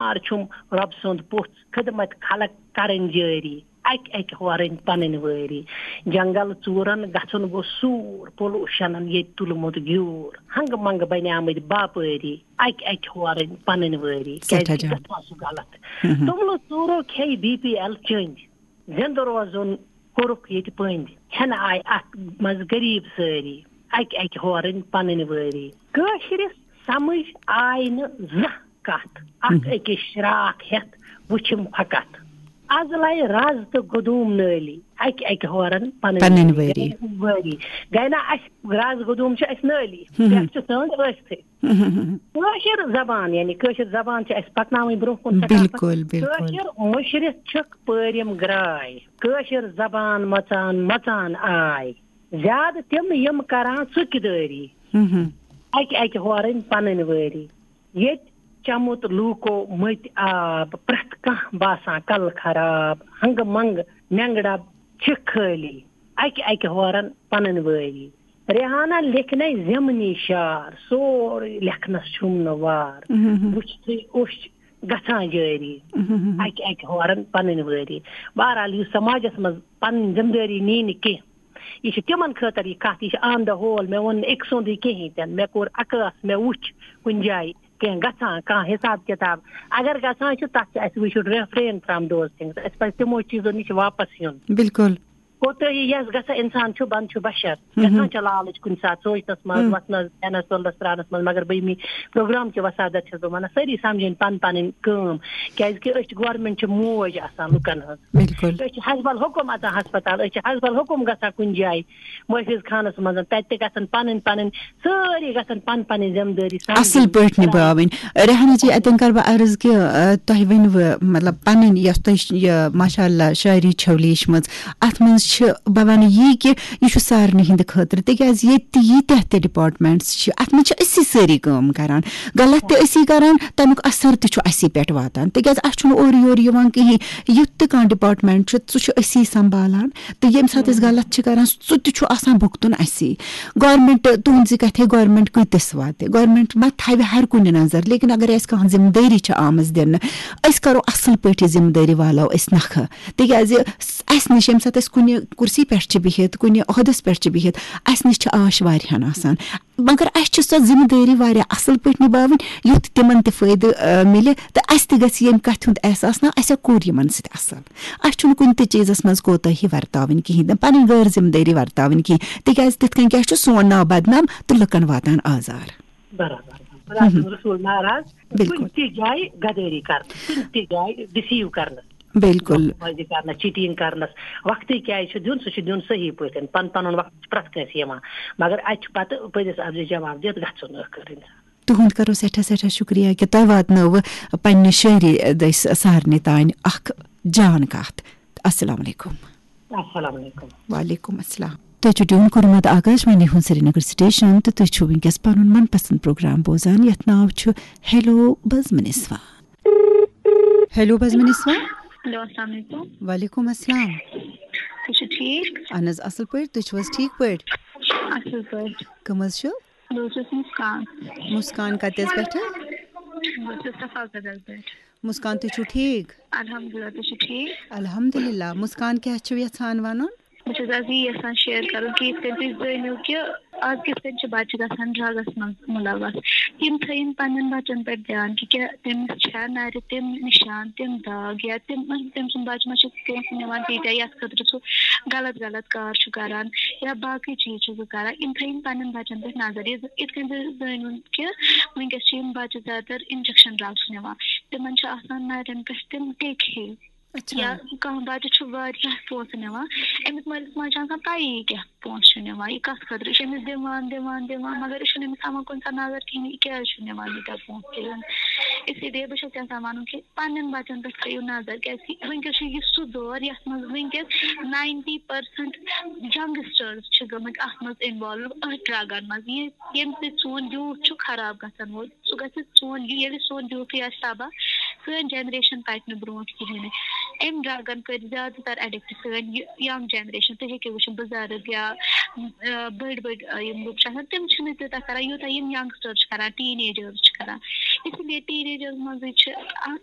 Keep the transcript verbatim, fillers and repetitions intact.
یار چھُم رۄب سُنٛد پوٚژھ، خدمت خلق کرٕنۍ جٲری، اکہِ اکہِ ہورٕنۍ پنٕنۍ وٲری۔ جنگل ژوٗرن گژھُن گوٚو سوٗر، پولوشنن ییٚتہِ تُلمُت گیوٗر، ہنگہٕ منگہٕ بنیمٕتۍ باپٲری، اکہِ اکہِ ہورٕنۍ پنٕنۍ وٲری۔ سٮ۪ٹھاہ کیازِ کہِ جان۔ گژھان چھُ غلط۔ ہم۔ توٚملہٕ ژوٗرو کھیٚیہِ بی پی ایل چٔنٛدۍ، زِندٕ روزُن کوٚرُکھ ییٚتہِ پٔنٛدۍ۔ ہٮ۪نہٕ آیہِ اَتھ منٛز غریٖب سٲری، اَکہِ اَکہِ ہورٕنۍ پنٕنۍ وٲری۔ کٲشرِس سمجھ آیہِ نہٕ زانٛہہ کتھ، اکھ مہم۔ أکِس شراکھ ہٮ۪تھ وٕچھِم فقط۔ از لایہِ رز تہٕ گدوٗم نٲلی، اَکہِ اَکہِ ہورن پنٕنۍ پنٕنۍ وٲری۔ وٲری۔ وٲری۔ گٔے نا اَسہِ رز گدوٗم چھِ اَسہِ نٲلی، مہم۔ پٮ۪ٹھ چھِ سٲنٛڈ ٲسۍتھٕے۔ کٲشِر زبان، یعنی کٲشِر زبان چھِ اَسہِ پَکناوٕنۍ برٛونٛہہ کُن سٮ۪ٹھاہ۔ بِلکُل، بِلکُل۔ کٲشِر مُشرِتھ چھِکھ پٲرِم گرٛاے۔ کٲشِر زبان مَژان مَژان آے۔ زیادٕ تِم یِم کَران ژُکہِ دٲری۔ اَکہِ اَکہِ ہورٕنۍ پَنٕنۍ وٲری۔ ییٚتہِ چَمُت لوٗکو مٔتۍ آب، پرٛٮ۪تھ کانٛہہ باسان کَلہٕ خراب۔ ہنٛگہٕ منٛگہٕ مٮ۪نٛگہٕ ڈَبہٕ چھِ خٲلی۔ اَکہِ اَکہِ ہورَن پَنٕنۍ وٲری۔ ریحانہ لیکھنے ضمنی شعر، سورُے لیکھنس چھُم نہٕ وار۔ وٕچھتھٕے اوٚش گژھان جٲری۔ اکہِ اکہِ ہورن پنٕنۍ وٲری۔ بہرحال، یُس سماجس منٛز پنٕنۍ ذمہٕ دٲری نی نہٕ کینٛہہ، یہِ چھِ تِمن خٲطرٕ یہِ کتھ، یہِ چھِ آن دا ہول۔ مےٚ ووٚن نہٕ أکۍ سُنٛدٕے کِہیٖنۍ تہِ نہٕ، مےٚ کوٚر اکٲس، مےٚ وٕچھ کُنہِ جایہِ کینٛہہ گژھان، کانٛہہ حساب کتاب۔ اگر گژھان چھُ، تتھ چھُ اَسہِ، we should refrain from those things۔ اَسہِ پزِ تِمو چیٖزو نِش واپس یُن۔ بِلکُل۔ کوتٲہی یَس گژھان اِنسان چھُ، بنٛد چھُ بشر۔ گژھان چھِ لالٕچ کُنہِ ساتہٕ سونٛچنَس منٛز، وۄتھنَس، بیٚہنَس، تُلنَس، ترٛاونَس منٛز، مگر بہٕ ییٚمہِ پروگرام کہِ وسادت چھَس بہٕ وَنان، سٲری سَمجھِنۍ پَن پَنٕنۍ کٲم، کیٛازِکہِ أسۍ چھِ، گورمٮ۪نٛٹ چھِ موج آسان لُکَن ہٕنٛز۔ بِلکُل۔ أسۍ چھِ حسب الحکم اَژان ہسپتال، أسۍ چھِ حسب الحکم گژھان کُنہِ جایہِ محفوظ خانَس منٛز، تَتہِ تہِ گژھن پَنٕنۍ پَنٕنۍ، سٲری گژھن پَن پَنٕنۍ ذمہٕ دٲری سَمجھٕنۍ۔ اَصٕل پٲٹھۍ نِباوٕنۍ۔ ریحانہ جی، اَتٮ۪ن کَرٕ بہٕ عرض کہِ، آ، تۄہہِ ؤنِوٕ، مطلب، پَنٕنۍ یۄس تۄہہِ ش-، یہِ، ماشاء اللہ، شٲعری چھَو لیٖچھمٕژ، اَتھ منٛز چھِ، بہٕ وَنہٕ یی کہِ یہِ چھُ سارنٕے ہِنٛدِ خٲطرٕ، تِکیٛازِ ییٚتہِ تہِ ییٖتیٛاہ تہِ ڈِپارٹمٮ۪نٛٹٕس چھِ، اَتھ منٛز چھِ أسی سٲری کٲم کَران، غلط تہِ أسی کَران، تَمیُک اثر تہِ چھُ اَسی پٮ۪ٹھ واتان، تِکیٛازِ اَسہِ چھُنہٕ اورٕ یورٕ یِوان کِہیٖنۍ۔ یُتھ تہِ کانٛہہ ڈِپارٹمٮ۪نٛٹ چھُ، سُہ چھُ أسی سنٛبھالان، تہٕ ییٚمہِ ساتہٕ أسۍ غلط چھِ کَران، سُہ تہِ چھُ آسان بھُگتُن اَسی۔ گورمٮ۪نٛٹ، تُہٕنٛزِ کَتھِ، گورمٮ۪نٛٹ کۭتِس واتہِ؟ گورمٮ۪نٛٹ ما تھاوِ ہر کُنہِ نظر، لیکن اگر اَسہِ کانٛہہ ذمہٕ دٲری چھِ آمٕژ دِنہٕ، أسۍ کَرو اَصٕل پٲٹھۍ یہِ ذمہٕ دٲری والو أسۍ نَکھٕ۔ تِکیٛازِ س-، اَسہِ نِش، ییٚمہِ ساتہٕ أسۍ کُنہِ کُرسی پٮ۪ٹھ چھِ بِہِتھ، کُنہِ عہدَس پٮ۪ٹھ چھِ بِہِتھ، اَسہِ نِش چھِ آش واریاہَن آسان۔ مگر اَسہِ چھِ سۄ ذمہٕ دٲری واریاہ اَصٕل پٲٹھۍ نِباوٕنۍ، یُتھ تِمَن تہِ فٲیدٕ، آ، مِلہِ تہٕ اَسہِ تہِ گژھِ ییٚمہِ کَتھِ ہُنٛد احساس، نہ، اَسہِ ہا کوٚر یِمَن سۭتۍ اَصٕل۔ اَسہِ چھُنہٕ کُنہِ تہِ چیٖزَس منٛز کوتٲہی ورتاوٕنۍ کِہیٖنۍ تہِ، پَنٕنۍ غٲر ذمہٕ دٲری ورتاوٕنۍ کِہیٖنۍ، تِکیٛازِ تِتھ کٔنۍ کیٛاہ چھُ سون ناو بدنام تہٕ لُکَن واتان آزار۔ برابر۔ خۄدا سُنٛد رسول ناراض، بِلکُل۔ کُنہِ تہِ جایہِ غدٲری کرنہٕ، کُنہِ تہِ جایہِ ڈِسیٖو کرنہٕ۔ بِلکُل۔ بازی کرنَس، چیٖٹِنٛگ کرنَس وقتٕے کیٛازِ چھُ دیُن؟ سُہ چھُ دیُن صحیح پٲٹھۍ، پَن-، پَنُن وقت چھُ پرٛٮ۪تھ کٲنٛسہِ یِوان، مگر اَتہِ چھُ پَتہٕ پٔزِس اَپزِ جواب دِتھ گژھُن ٲخٕر اِنسان۔ تُہُنٛد کَرو سٮ۪ٹھاہ سٮ۪ٹھاہ شُکریہ کہِ تۄہہِ واتنٲوٕ پننہِ شٲعری دٔسۍ سارنٕے تانۍ اکھ جان کتھ۔ السلام علیکم۔ السلام علیکم۔ وعلیکم السلام۔ تُہۍ چھِو ٹیوٗن کوٚرمُت آکاشوانی ہُنٛد سرینگر سٹیشن تہٕ تُہۍ چھِو وٕنکیٚس پنُن من پسند پروگرام بوزان، یتھ ناو چھُ ہیلو بزمنسوا۔ ہیلو بزمنسوا۔ ہیلو، السلام علیکم۔ وعلیکم السلام۔ تُہۍ چھِو ٹھیٖک؟ اہن حظ، اصل پٲٹھۍ۔ تُہۍ چھِو حظ ٹھیٖک پٲٹھۍ؟ اصل پٲٹھۍ۔ کٕم حظ چھِو؟ بہٕ حظ چھَس مُسکان۔ مُسکان کَتہِ حظ پٮ۪ٹھٕ؟ بہٕ حظ چھَس صفا قدل پٮ۪ٹھ۔ مُسکان، تُہۍ چھِو ٹھیٖک؟ الحمدللہ، تُہۍ چھِو ٹھیٖک؟ الحمدللہ۔ مُسکان، کیٛاہ چھِو یَژھان وَنُن؟ بہٕ چھَس آز یی یَژھان شِیر کَرُن کہِ یِتھ کٔنۍ تُہۍ زٲنِو کہِ آز کِتھ کٔنۍ چھِ بَچہٕ گژھان ڈرٛگَس منٛز مُلَوَث۔ تِم تھٲیِن پنٛنٮ۪ن بَچَن پٮ۪ٹھ دھیان کہِ کیٛاہ تٔمِس چھا نَرِ تِم نِشان، تِم داغ یا تِم، تٔمۍ سُنٛد بَچہٕ ما چھُ کٲنٛسہِ نِوان تیٖتیٛاہ یَتھ خٲطرٕ سُہ غلط غلط کار چھُ کَران یا باقٕے چیٖز چھُ سُہ کَران۔ یِم تھٲیِن پنٛنٮ۪ن بَچَن پٮ۪ٹھ نظر۔ یِتھ، یِتھ کٔنۍ زِ زٲنِو کہِ وٕنکیٚس چھِ یِم بَچہٕ زیادٕ تر اِنجَکشَن ڈرٛگٕس نِوان۔ تِمَن چھِ آسان نَرٮ۪ن پٮ۪ٹھ تِم ٹیٚکۍ ہِوۍ۔ اچھا۔ یا کانٛہہ بَچہٕ چھُ واریاہ پونٛسہٕ نِوان، أمِس مٲلِس ماجہِ چھِ آسان پَیی یہِ کیٛاہ پونٛسہٕ چھُ نِوان، یہِ کَتھ خٲطرٕ، یہِ چھُ أمِس دِوان، دِوان، دِوان، مگر یہِ چھُنہٕ أمِس تھاوان کُنہِ ساتہٕ نظر کِہیٖنۍ، یہِ کیٛازِ چھُ نِوان ییٖتیٛاہ پونٛسہٕ تِمَن۔ اسی لیے بہٕ چھَس یَژھان وَنُن کہِ پنٛنٮ۪ن بَچَن پٮ۪ٹھ تھٲیِو نظر، کیٛازِکہِ وٕنکیٚس چھُ یہِ سُہ دور یَتھ منٛز وٕنکیٚس ninety percent youngsters چھِ گٔمٕتۍ اَتھ منٛز involve، أتھۍ ڈرٛگَن منٛز۔ یہِ، ییٚمہِ سۭتۍ سون youth چھُ خراب گژھن وول، سُہ گژھِ سون، یہِ، ییٚلہِ سون youthٕے آسہِ تباہ، سٲنۍ generation پَکہِ نہٕ برونٛٹھ کِہیٖنۍ نہٕ۔ أمۍ ڈرٛگَن کٔرۍ زیادٕ تر addict سٲنۍ یہِ young generation۔ تُہۍ ہیٚکِو وٕچھِتھ، بُزرٕگ یا، آ، بٔڑۍ بٔڑۍ، آ، یِم لُکھ چھِ آسان، تِم چھِنہٕ تیوٗتاہ کران، یوٗتاہ یِم youngsters چھِ کران، teenagers چھِ کران۔ اس لیے ٹین ایجس منٛزٕے چھِ اَ-